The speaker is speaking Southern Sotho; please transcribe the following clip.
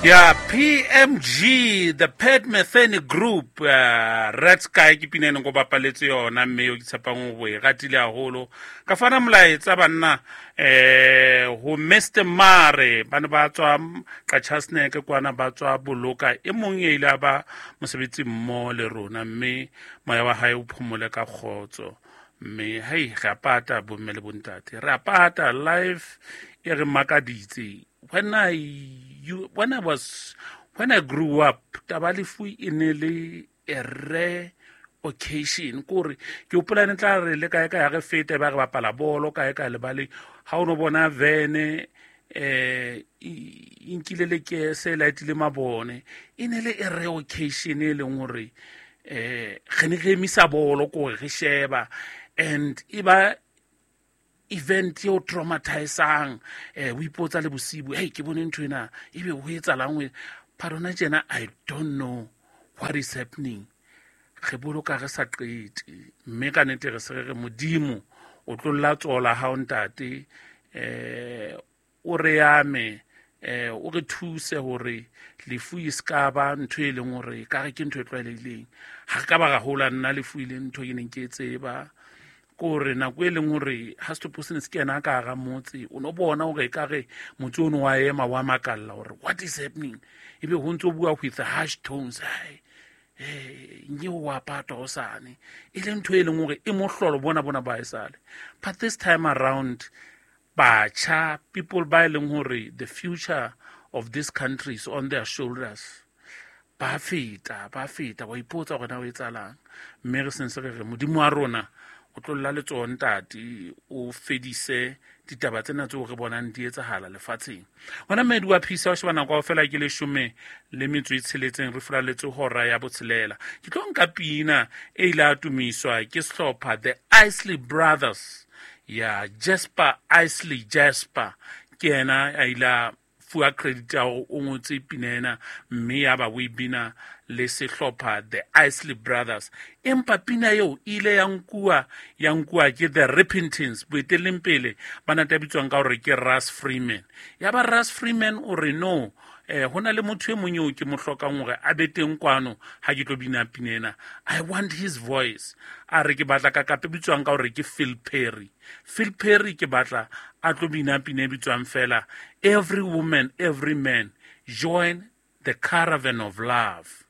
Ya PMG, the Pat Metheny Group, Red Sky ke pina e neng ko bapaletse yona, mme eo ke tshepang ho e ratile haholo. Ka fana molaetsa banna ho Mr Mare, ba ne ba tswa Qachasneke kwana, ba tswa Boloka, e mong e ile a ba mosebetsi mmoho le rona, mme moya wa hae o phomole ka kgotso. Mme hei, re a pata bomme le bontate, re a pata. Life e re makaditse. When I grew up, taba lefu e ne le a rare occasion. Kore ke hopola ne tla re le kae kae ha re feta, ba re bapala bolo kae kae lebaleng, ha o no bona vene e nkile lekese, lightile mabone, e ne le a rare occasion e leng hore re ne re emisa bolo kore re sheba, and e ba event eo traumatizang. O ipotsa le bosibu, hey, ke bone ntho ena, ebe ho etsahalang ho parona tjena? I don't know what is happening. Re boloka re sa qete, mme ka nnete re se re re Modimo o tlolla tsola hao ntate, o re ame, o re thuse hore lefu e ska ba ntho e leng hore ka re ke ntho e tlwaelehileng. Ha re ka ba ra hola nna lefu e leng ntho ke neng ke e tseba, kore nako e leng hore ha setopo se ne se kena ka hara motse, o no bona hore ekare motse ono wa ema, wa makalla hore what is happening, ebe ho ntso bua with harsh tones, hai, nke o wa patwa hosane, e le ntho e leng hore e mohlolo bona bona ba esale. But this time around, batjha, people ba e leng hore the future of this country is on their shoulders, ba feta, ba feta, wa ipotsa hore na o etsahalang. Mme re sentse re re Modimo wa rona o tlolla letsoho ntate, o fedise ditaba tsena tseo re bonang di etsahala lefatsheng. Hona mmedi wa phisa o sheba nako kaofela ke 16, re furaletse hora ya botshelela. Ke tlo nka pina e ile a tumiswa ke sehlopha The Isley Brothers, ya Jasper Isley. Jasper ke yena a ile a fuwa credit ya hore o ngotse pina ena, mme ya ba o e bina le sehlopha The Isley Brothers. Empa pina eo e ile ya nkuwa, ya nkuwa ke The Repentance, boetelleng pele ba nate bitswang ka hore ke Russ Freeman. Ya ba Russ Freeman o re no, ho na le motho e mong eo ke mo hlokang hore a be teng kwano ha ke tlo bina pina ena. I want his voice. A re ke batla kakape bitswang ka hore ke Phil Perry. Phil Perry ke batla a tlo bina pina e bitswang fela Every Woman, Every Man, Join the Caravan of Love.